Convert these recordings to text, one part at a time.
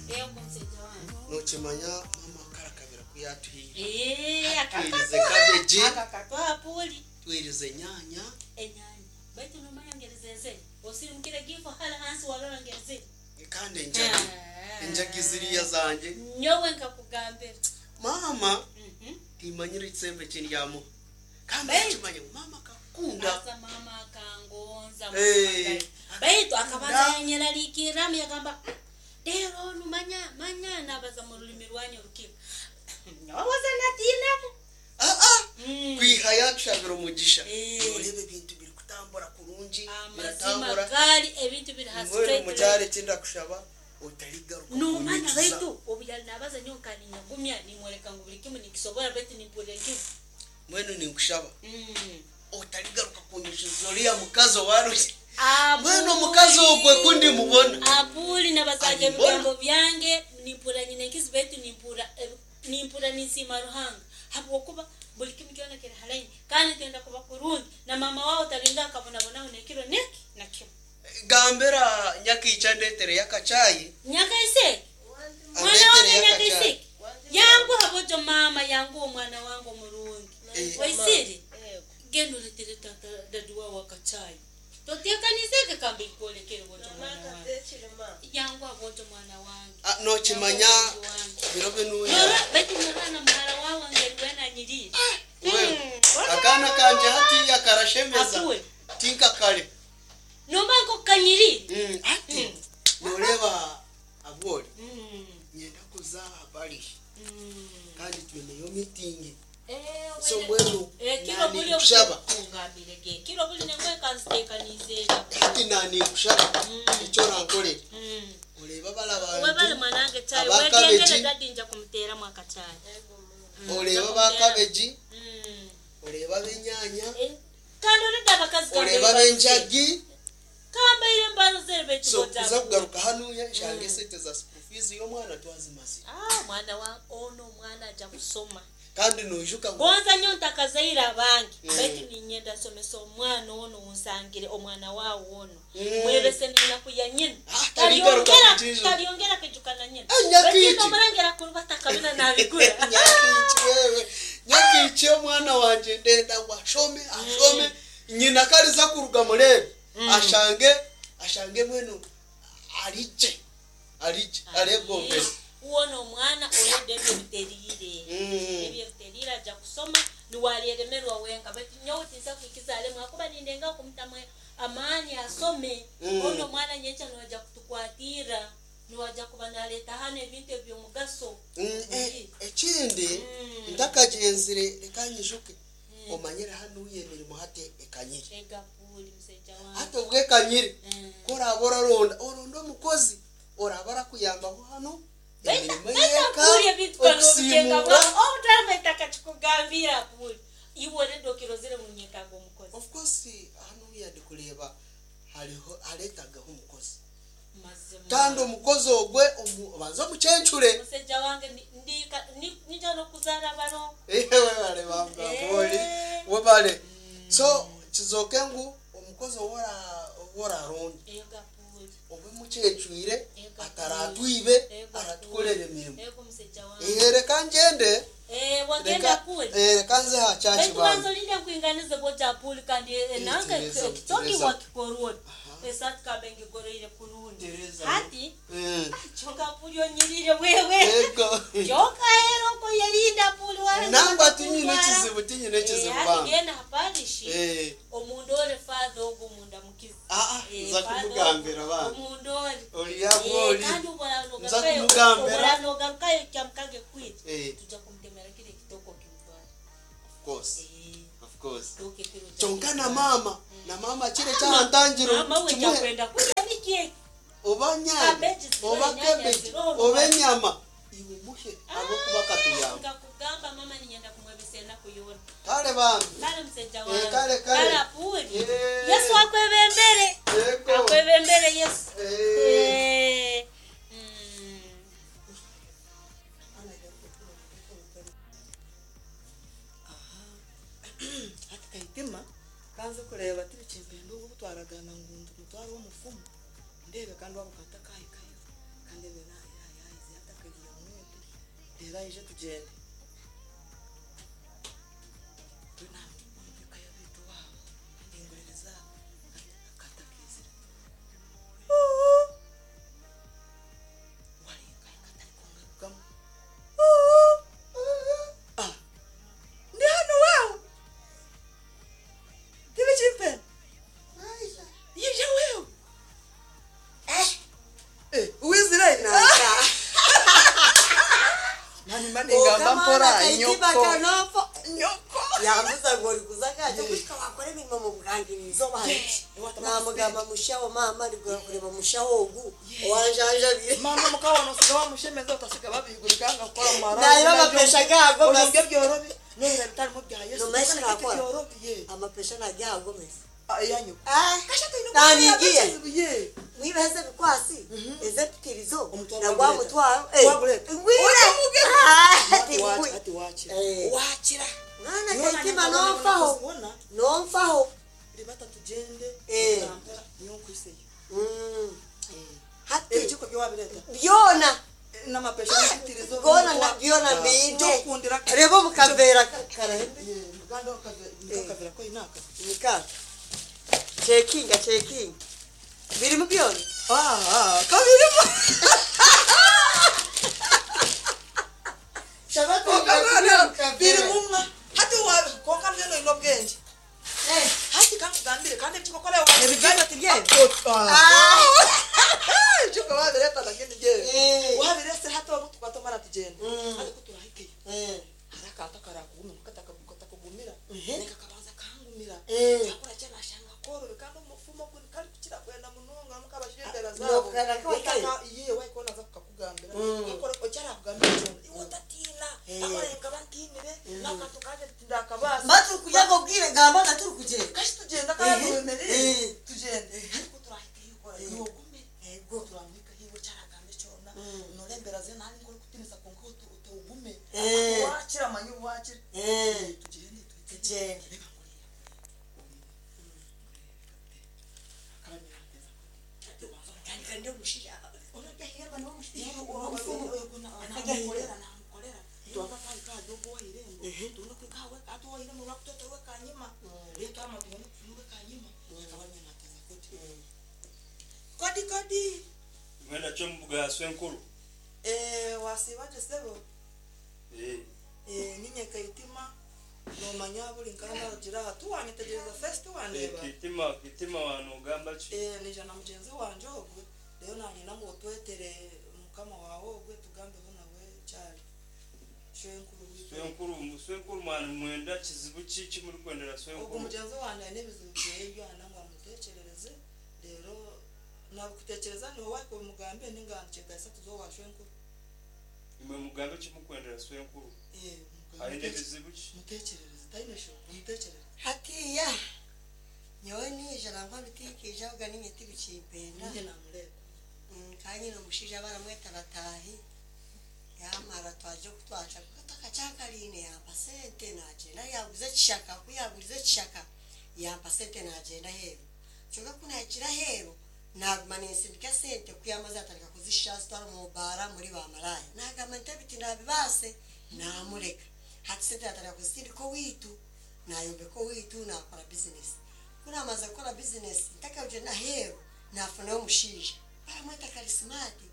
Yego musajja wange. Nokimanya maama akarakabira ku yatuhaire. Eh, Twirize akakatuha. cabbage. Akakatuha puli. Twirize enyaanya. Enyanya. Baitu nomanya ngeri zezere. Osirimukire gifo hala hansi warora ngeri ziri. Kandi enjagi. Enjagi ziriya zangye. Nyowe nkakugambira. Maama timanyire ekisembo eki ndyamuha. Kandi Baitu- okimanye ngu maama akakukunda. Asa mama akangonza. Eh, Baitu akabanza akakunda. yanyeraliikirramu yagamba rero onu manya manya nabaza mu rulimi rwanyu orukiga. Nyowe natiinamu. Ah, ah. Kwiha yakushabira omugisha. Eh. Noreeba ebintu birikutambura kurungi. Amazima Biratambura. gaali ebintu biri ha Mbwenu straight mukyaro line. eki ndakushaba otarigaruka Nomanya kunyijuza. baitu obu yali nabaza nyowe nka ninyagumya nimworeka ngu buli kimu nikisobora baitu nimpurira enkizi. Mbwenu ninkushaba otarigaruka kunyijuza oriya mukazi owarugi. Abuli. Mbwenu omukazi ogwe ku ndimubona. Abuli nabazaga Alimbona. ebigambo byange nimpurira nyine enkizi baitu nimpurira nimpurira ninsiima Ruhanga habwokuba buli kimu kyona kiri ha line kandi nitwenda kuba kurungi na maama wawe talinga akabonabonaho n'ekiro neki na kimu. Gambira Nyakiicha andeetereyo akachayi. Nyakaiseki mwana wange Andeetereyo akachayi. Nyakaiseki yanguha bojo maama yanguha omwana wange omurungi. Eh. Waisire genda oletere tata dadi wawe akachayi toteekaniseke kambe nkwolekere bojo mwana wange. Yanguha bojo mwana wange. Ah, nokimanya biro binuya. Nora baitu norora na muhara wawe ngeri wena anyirire. Wewe, akaana kangye hatiya karashemeza. Akuwe. Tinka kare. Nomanya nkoku kanyirire. Hati noreeba Abwori nyenda kuza aha parish kandi twineyo meeting. So mbwenu Ekiro buli naninkushaba. kungambire ge. Kiro buli nengwe kanzitekanize. Hati naninkushaba eki orankorere. Oreebe abari Webale abantu mwanange chai aba wegendere cabbage. dadi nja kumuteramu akachai. Oreebe aba cabbage, oreebe ab'enyaanya, Kandi oreda abakazi oreebe ab'enjagi. Kambaire mbarozere baitu So boja. kuza kugaruka hanuya nshange esente za school fees y'omwana twazimazire. Ah mwana wa ono omwana aja kusoma. Kandi noijuka ngu Gonza nyo ntakazaire abange baitu ninyenda nsomesa omwana ono unsangire omwana wawe ono. Mwebese n'enaku ya nyina. Ah, tarigaruka kukiijuka. Taryongera kwijukana nyina. Ah, Nyakiichi. Baitu nomurangira kurubata akabina nabigura. Nyakiichi wewe. Nyakiichi omwana wangye ndenda ngu ashome ashome nyina kariza kuruga mureebe ashange ashange mbwenu arigye arigye aregombere. Uwona omwana orede ebyo biteriire. Ebyo biteriire aja kusoma niwaryeremerwa wenka baitu nyowe tinsa kwikiza alemwa akuba nindenga kumutamu amaani asome. Ono omwana nyenkya niwaja kutukwatira niwaja kuba naleeta hano ebintu eby'omugaso. Ekindi ntakagyenzire reka nyijuke omanyire hanuya emirimo hati ekanyire. Egapuli musajja wange. Hati obwo ekanyire ku oraaba oraronda oronde omukozi oraaba arakuyambaho hanu emirimo y'eka Apuli ebintu kanobutenga okusiimuura. obutaraba takakikugambira apuli iwe orede okirozere ngu nyetaaga omukozi. Of course hanuya ndikureeba hariho hareetagaho omukozi. Mazima. Kandi omukozi ogwe obanze omucencure. Musajja wange ninja n'okuzaara abarongo. Webale bamba Abwori webale. So kizooke ngu omukozi ou oraronda Egapuli. obe mucencwire Ego. ataratwibe Ego. aratukorera emirimo. Ego musajja wange. Reka ngyende. Wagenda apuli. Reka nze aha church Baitu banza bambi. olinde nkuinganize boja apuli kandi nange Tereza, ekitoki Tereza. wakikorwa. Esati kambe ngigoroire kurungi. Tereza. Hati kyonka apuli onyirire wewe. Ego. Kyonka ero nko yerinda apuli wawe. Nangwa tinyine ekizibu tinyine ekizibu Hati bambi. genda ha parish. Omundore father ogwo omundamukizi. Ah, ah, nza kumugambira bambi. Omundore. Ori Abwori. Kandi Nza kumugambira. obora nogarukayo kyamukage kwita. Tujja kumutemera kile kitoko kimutwara. Of course. Of course. Kitoko kiro kya Kyonka na maama na maama kire ekyahantangire Mama we kimuhe. kyakwenda kurya niki? Oba nyanya, Cabbage ziroho, oba nyanya cabbage, ziroho, oba enyama iwe muhe ahabw'okuba akatuyamba. Nkakugamba mama ninyenda kumwebesa enaku yoona. Kare bambi. Kale musajja wange. Kale, kale. Kale apuli. Yesu akwebembere. Ego. Akwebembere Yesu. Hati Kaitima kanze kureeba tibikimpenda obu twaragaana ngu mutware omufumu ndeebe kandi waaba okaba otakahikayo kandi ndeebe yaahika. Aije tugyende. Mbwenu aha omu ka y'abaitu owaabo andinguririza akatakeizire. Uu! Warenga katarikungarukamu. Uu! Ah! Ndi hanu waawe. Tibikimpenda. Yija wewe. Eh, wizire. Nani mani ngamba mpora nyoko. Nyoko. Yambuza ngo uri kuza kajya gushika wakora emirimo mu bwangirizo banje. Namugamba mushaho mama ndi kureba mushaho ogu owanjanjabire. Mama mukabona usiga wamushemeza utasiga babihugurika ngakora mara. Nayo amapesha gago Ojonge byorobi. None bitarimo bya Yesu. Nomesha nakora. Byorobi ye. Amapesha nagyagomesa. Ayanyu. Ah, Kasha tuyino. Nanigiye. Ye. mwibeze bikwasi ezepitirizo Omutwaro nagwa gwaguleta. mutwaro Gwaguleta. ngwire Ojamuge. Ah, Ati tingwi. ati wakira. Eh. Wakira. Mwana kaitima nonfaho nonfaho. Ribata tugende. Eh. Mpora nyonkuiseyo. Hati Ebijiko byowabireta. byona N'amapesha n'ebitirizo. gona na byona mbinde Ndokundira. reba omukavera karahembe Ye, muganda wakavera ko inaka. nika cekinga cekinga birimu byona. Ah, kabirimo. Biri mumwa. Hati wa konka mbeno ino bwenge. Hati kankugambire kandi ebijiko kora wa. Ebijiko tibye? Ah. Ebijiko wabireta lakini je. Wabirese hati wa tukatomara tugenda. Hati kuturahikeyo. Hari akantu akarakugumira katakugumira. Neka kabanza kangumira. Akora cyane ashanga korobe kandi umufumo gwe kari kukira kwenda munonga mukabashembera zabo. Nokara Iye wayikona za kukakugambira. Akora ocyara kugambira cyona. Iwe utatina. Akora nkaba ntinire n'akantu kaje tindakabasa. Mba turi kujya ngo bwire gamba nga turi kugenda. Kashi tugenda kandi wemerere. Tugende. Ariko turahita yikora. Iwe ugume. Ego. Turamwika hiwe cyaragambe cyona. Norembera ze nani ngori kutinisa konka utugume. Wakira manyu wakira. Tugende Tugende. Reka nguriya. Kandi omushija onajya n'omushija. Kodi kodi. Mwenda kyo mubuga swenkuru. Wasibaje sebo. Ninye kaitima nomanya buli nkana rugira aha tuwanyetegereza first wandeba. Kitima kitima wano ogamba ki? Nija na mugenzi wanje ogwe rero nanyina ngu otwetere mukama wawe ogwe tugambeho nawe kyali shwenkuru witu. Swenkuru swenkuru mwana mwenda kizibu ki kimuri kwendera Ogwo swenkuru. mugenzi wanje aine ebizibu byeye byana ngu amutekyerereze rero nakutekyereza niwe wakubimugambe ninga nkyetaisa tuzo wa shwenkuru. Imwe mugambe kimukwendera swenkuru. Aine ebizibu ki? Mutekyerereze taine sho mutekyerereze. Hatiya nyowe nija nangwa bitikija oga ninye tibikimpenda. Ninye namureba. Kanye n'omushaija baramweta batahi yamara twaje kutwaca katakakyakaline yampa sente nagyenda yaguza ekishaka ku yaguriza ekishaka yampa sente nagyenda heeru kyonka ku nagira heeru naguma ninsindika sente ku yamaze atandika kuzisha zitwara omu baara muri bamaraya nagamba nti ebiti nabibaase namureka hati sente natandika kuzisindika owiitu nayombeka owiitu nakora bizinesi ku namaze kukora bizinesi ntakagyenda heeru nafunayo omushaija baramweta karisimati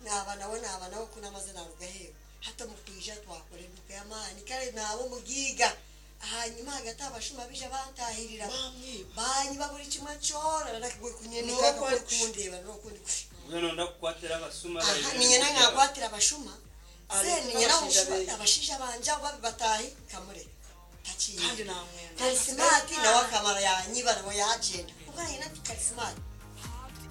naba nawe kunamaze naruga heeru hati omukwija twakora eduka y'amaani kare naba omugiiga hanyuma hagati abashuma bija bantahirira banyiba buri kimwe kyona nakigwe kunyenika kundeba nokundi Mbwenu ndakukwatira abasuma. Ninyena nkakwatira abashuma se ninyena abashaija banje abo babi batahi nkamureka Kandi namwenda. Karisimati nawe akamara yanyiba nawe yagyenda kuko nanyina nti karisimati